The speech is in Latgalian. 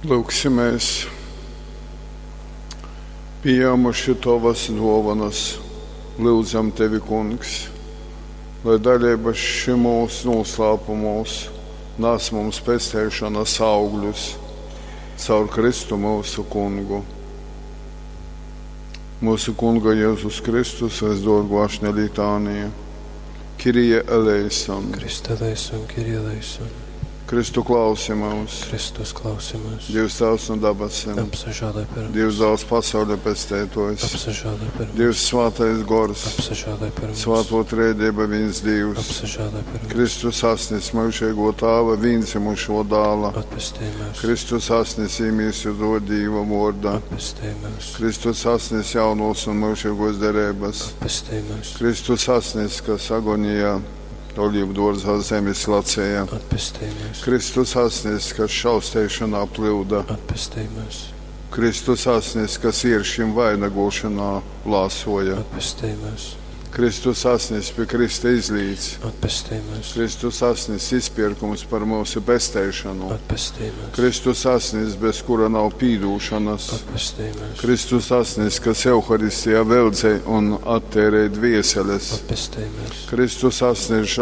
Lūgsimies! Pījēmuši Tovas duovanas, lyudzam Tevi, Kungs, lai daļība šymūs nūslāpumūs nas mums pesteišonas augļus caur Kristu myusu Kungu. Mūsu Kunga Jēzus Kristus visdorgo ašņa litānija. Kirije eleison. Christe eleison, Kyrie eleison. Kristu klausi mūs. Kristus klausi mūs. Dievs Tēvs no dabasim. Apsažālē par mums. Dievs dāls pasaules pestētojs. Apsažālē par mums. Dievs svētais gors. Apsažālē par mums. Svēto trēdība viens Dievs. Apsažālē par mums. Kristus asnis mūžīgo tāva vienzimušo dāla. Atpestī mūs. Kristus asnis īmīsu do Dīva vorda. Atpestī mūs. Kristus asnis jaunos un mūžīgos derības. Atpestī mūs. Kristus asnis, kas agonijā olīvu dārzā zemes lacēja. Atpestī mūs. Kristus asnis, kas šausteišanā plūda. Atpestī mūs. Kristus asnis, kas ieršim vainagošanā lāsoja. Atpestī mūs. Kristus asnis pie Krista izlīdz. Atpestī mūs. Kristus asnis izpirkums par mūsu pesteišanu. Atpestī mūs. Kristus asnis, bez kura nav pīdūšanas. Atpestī mūs. Kristus asnis, kas Euharistijā veldzē un attērē dvieseles. Atpestī mūs. Kristus asnis žēl.